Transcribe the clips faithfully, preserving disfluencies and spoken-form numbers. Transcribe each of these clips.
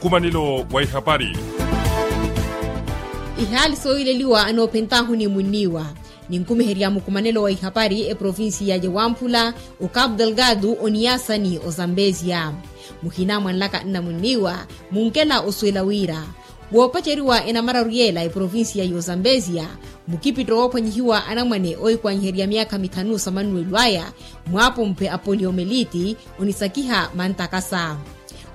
Nkumanelo wa ihapari. Ihaali sooyileliwa anoophentaahu ni munniiwa. Ninkumiherya mukumanelo wa ihapari eprovincia ya wamphula, okapu delgado oniyasani ozambesia. Muhina mwanlaka nna munniiwa munkela osuwela wira woopaceriwa enamararu yeela eprovincia ya ozambesia, mukipitto woophwanyihiwa anamwane oohikwanyiherya myaakha mithanu sa mannuwelo aya, mwaapomphe a poliomeliti onisakiha mantakasa.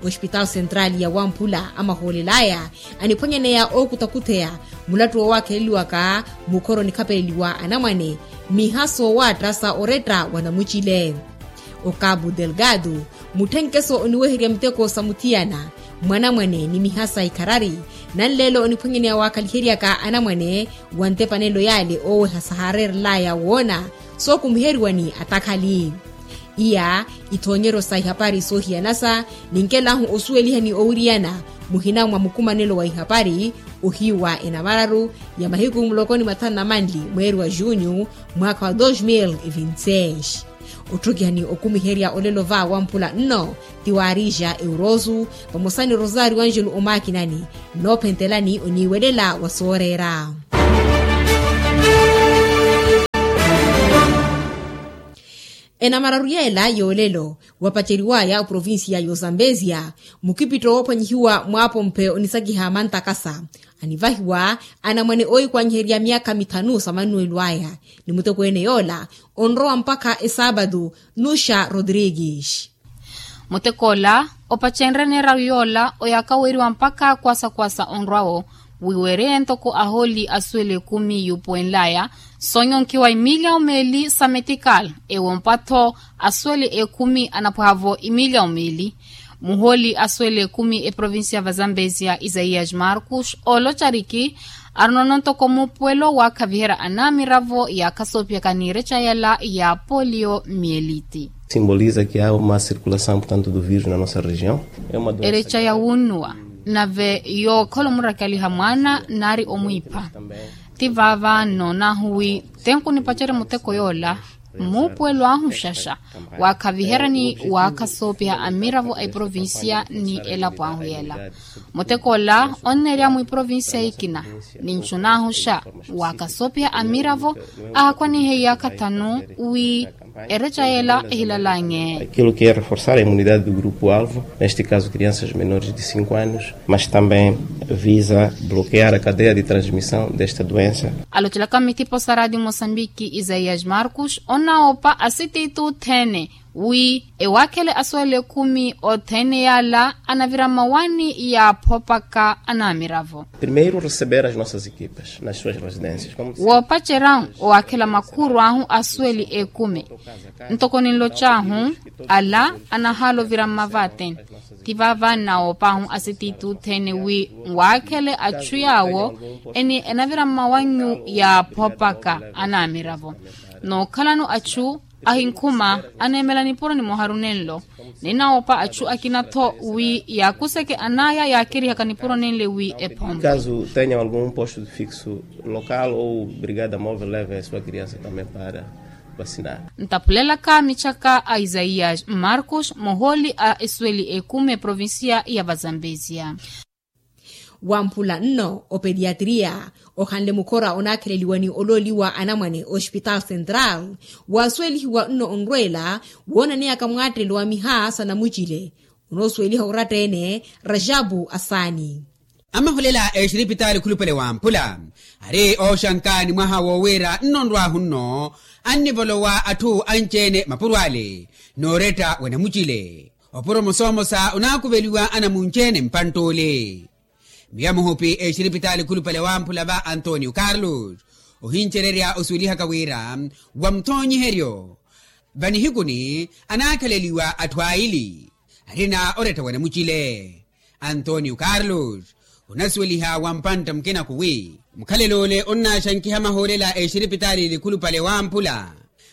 Ospitalu sentrali ya wamphula amahoolel'aya aniphwanyaneya ookuthakutheya mulattu woowakheleliwaka mukhoro onikhapeleliwa anamwane, miha soowaatta sa oretta wa namucile. Okapu delgado mutthenkeso oniweherya miteko sa muthiyana mwanamwane ni miha sa ikharari. Nanleelo oniphwanyaneya waakhaliheryaka anamwane wa ntepanelo yaale ooweha sahareerel'aya woona sookumiheriwani atakhali. Iya ithoonyeryo sa ihapari soohiyanasa ninkelahu osuweliha ni owiriyana muhina mwa mukumanelo wa ihapari ohiiwa enamararu ya mahiku muloko ni mathanu na manli mweeri wa junyu mwaakha wa dos mil e vinti seis. Otthukiha ni okumiherya olelo va wamphula nno ti waarija eurosu vamosa ni rosario angelo omaakinani. Nnoophentelani oniiwelela wa sooreera. Enamararu yeela yoolelo wapaceriwaya oprovincia ya ozambesia, mukipitto woophwanyihiwa mwaapomphe onisakiha mantakasa anivahiwa anamwane oohikwanyiherya myaakha mithanu sa mannuwelo aya. Ni mutekweene yoola onrowa mpakha esaapatu nuxa rodrigues. Mutek'ola opacenrye neeraru yoola oyaakha weeriwa mpakha kwasakwasa onrwa-wo wiweereye ntoko ahooli asuwela ekumi yuupuwenl'aya. Soonyonkiwa imilyawu meeli sa metikal ewompa-tho asuwela ekumi anapwaha-vo imilyawu meeli. Muhooli asuwela ekumi eprovincia va zambezia isaiyas marcus oolocariki arinono ntoko muupuwelo waakhaviherya anamiravo yaakhasoopihaka ni ereca yala ya polio mieliti. Simboliza ki há uma circulação portanto do vírus na nossa região. Ereca ya wunnuwa nave yookhola omurakaliha mwaana naari omwiipha. Ti vaava nnoonahu wi tenku nipacerye muteko yoola muupuwelo ahu xaxa waakhaviherya ni waakhasoopiha amiravo a eprovincia ni elapo ahu yeela. Muteko ola onneerya mwiprovincia ekina ninchunaahu xa waakasoopiha amiravo aakhwanihe iyaakha thanu wi ereca yeela ehilalanye. Aquilo que é reforçar a imunidade do grupo alvo, neste caso crianças menores de cinco anos, mas também visa bloquear a cadeia de transmissão desta doença. Alocelaka mithipo sa radio mosambiki isaias marcus onnawopa asititu thene wi ewaakhele asuwela ekumi othene yaala anavira mmawani yaaphopaka anamiravo. Primeiru receber as nossas equipas nas suas residências. Woopacerya owaakhela makhuuru ahu asuweli ekumi ntoko ninlocaahu ala anahaala ovira mmavaateni. Ti vaava nnawoopaahu asititu othene wi nwaakhele achu yaawo eni enavira mmawannyu yaaphopaka anamiravo nookhalano achu ahinkhuma aneemela nipuro nimoharu nenlo. Ninawoopa achu akina-tho wi yaakuseke anaya yaakerihaka nipuro nenle wi ephompe. Caso tenha algum posto de fixo local ou brigada móvel leve a sua criança também para vacinar. Ntaphulelaka michaka a isaias marcus mohooli a esuweli ekumi eprovincia ya vazambezia. Wamphula nno opediatria ohanle mukhora onaakheleliwa ni olooliwa anamwane ospitaal central waasuwelihiwa nno onrweela woonaneyaka mwaattelo wa miha sa namucile onoosuweliha oratta-ene rajabu asaani. Amahulela exiripitaali khulupale wamphula ari ooxanka ni mwaha woowiira nnonrwahu nno annivolowa atthu anci-ene mapuro ale nooretta wa namucile. Opuro mosomosa onaakuveliwa anamunci-ene mpantt'ule. Miya muhupi exiripitaali khulupale wamphula va antonio carlos ohincererya osuwelihaka wira wa muthoonyiheryo vanihikuni anaakhaleliwa atthu aili arina oretta wa namucile. Antonio carlos onasuweliha wa mpantta mukinaku wi mukhalelo ole onnaaxankiha mahoolela exiripitaali likhulupale wamphula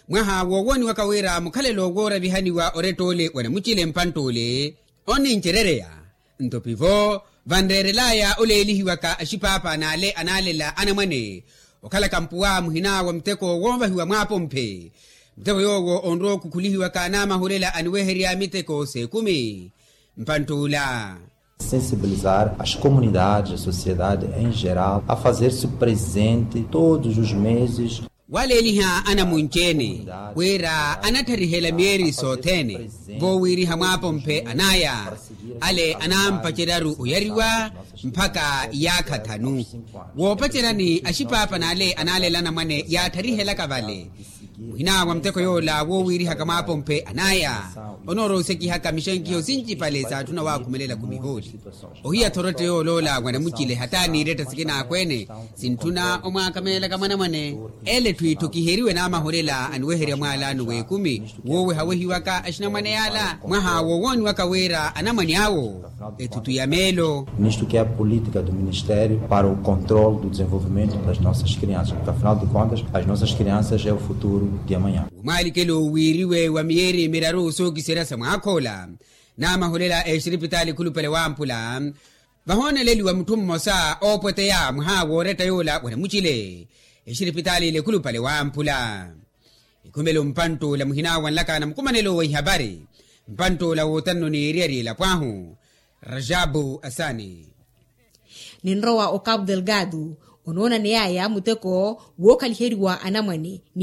mwaha woowoniwaka wira mukhalelo wooravihaniwa oretta ole wa namucile mpantt'ule onnincerereya. Nto pivo vanreerelaya oleelihiwaka axipaapa n'ale anaalela anamwane okhalaka mpuwa muhina wa muteko woovahiwa mwaapomphe muteko yoowo onrowa okukhulihiwaka n'amahulela aniweherya miteko s'ekumi mpantt'ula. Sensibilizar as comunidades a sociedade em geral a fazer-se presente todos os meses. Waleeliha anamunci-ene wira anatharihela myeeri sothene voowiriha mwaapomphe anaya ale anampacerya-ru oyariwa mpakha iyaakha thanu. Woopaceryani axipaapan'ale anaalela anamwane yaatharihelaka vale muhina wa muteko yoola woowiirihaka mwaapomphe anaya onoorowa osekihaka mixenkiho sincipale saatthuna waakhumelela khumihooli. Ohiya thorotte yooloola wanamucile hata niiretta sikina akweene sintthuna omwaakamelelaka mwanamwane. Ele etthu itthu kiheriwe naamaholela aniweherya mwaalaano w'ekumi woowehawehiwaka axinamwane yaala mwaha woowooniwaka wira anamwane awo ethutu ya meelo. Nisto ke a política do ministério para o controle do desenvolvimento das nossas crianças porque afinal de contas as nossas crianças é o futuro de amanhã. Wamwaalikelo wiiriwe wa miyeeri miraru sookiserya sa mwaakhoola naamaholela exiripitaali ekhulupale wamphula vahooneleliwa mutthu mmosa oopweteya mwaha wooretta yoola wanamucile exiripitaali lekhulupale wamphula. Ekhumelo mpantt'ula muhina wanlakana mukumanelo wa ihapari mpantt'ula wootannoni eriyari elapo ahu rajabu asani. Ninrowa o cabo delgado onoonaneyaya muteko wookhaliheriwa anamwane ni